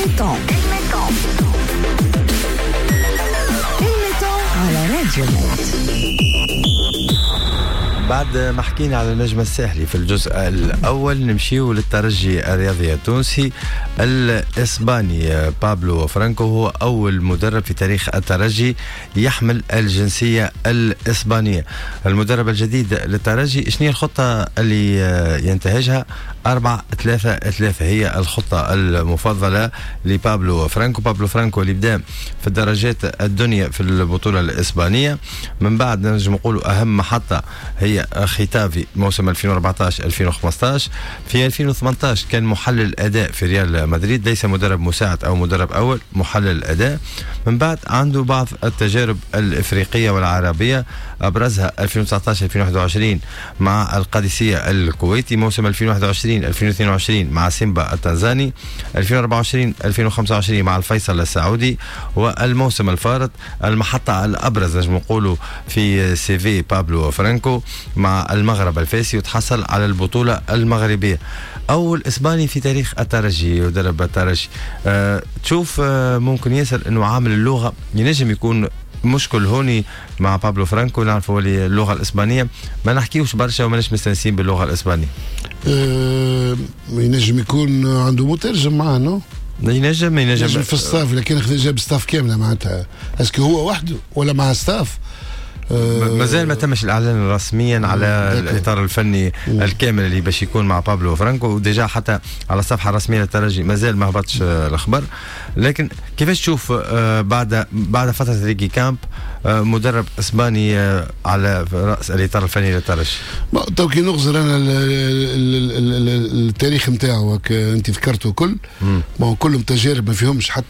ال mi-temps، ال mi-temps على راديو ميد. بعد ما حكينا على النجم الساحلي في الجزء الأول، نمشيو للترجي الرياضي التونسي. الإسباني بابلو فرانكو هو أول مدرب في تاريخ الترجي يحمل الجنسية الإسبانية. المدرب الجديد للترجي، شنو هي الخطة اللي ينتهجها؟ 4-3-3 هي الخطة المفضلة لبابلو فرانكو. بابلو فرانكو اللي بدا في الدرجات الدنيا في البطولة الإسبانية، من بعد نجم نقولوا أهم محطة هي ختافي موسم 2014 2015. في 2018 كان محلل أداء في ريال مدريد، ليس مدرب مساعد أو مدرب أول، محلل أداء. من بعد عنده بعض التجارب الإفريقية والعربية، أبرزها 2019 2021 مع القادسية الكويتي، موسم 2021 2022 مع سيمبا التنزاني، 2024 2025 مع الفيصل السعودي، والموسم الفارط المحطة الأبرز نجم نقولوا في CV بابلو فرانكو مع المغرب الفاسي، وتحصل على البطولة المغربية. أول إسباني في تاريخ الترجي يدرب الترجي. تشوف ممكن ياسر أنه عامل اللغة ينجم يكون مشكل هوني مع بابلو فرانكو. نعرفوا اللغة الإسبانية ما نحكيوش برشا وماناش مستانسين باللغة الإسبانية. ينجم يكون عنده مترجم معاه، non؟ ينجم. ينجم في ال staff، لكن جاب staff كاملة معناتها، est-ce que هو وحده ولا مع staff؟ مازال ما تمش الاعلان رسميا على الاطار الفني الكامل اللي باش يكون مع بابلو فرانكو، و déjà حتى على الصفحة الرسمية للترجي مازال ما هبطش الخبر. لكن كيفاش تشوف بعد فترة ريكي كامب مدرب اسباني على راس الاطار الفني للترجي؟ تو كي نغزر انا التاريخ نتاعو، انت ذكرته كل، bon كلهم تجارب ما فيهمش حتى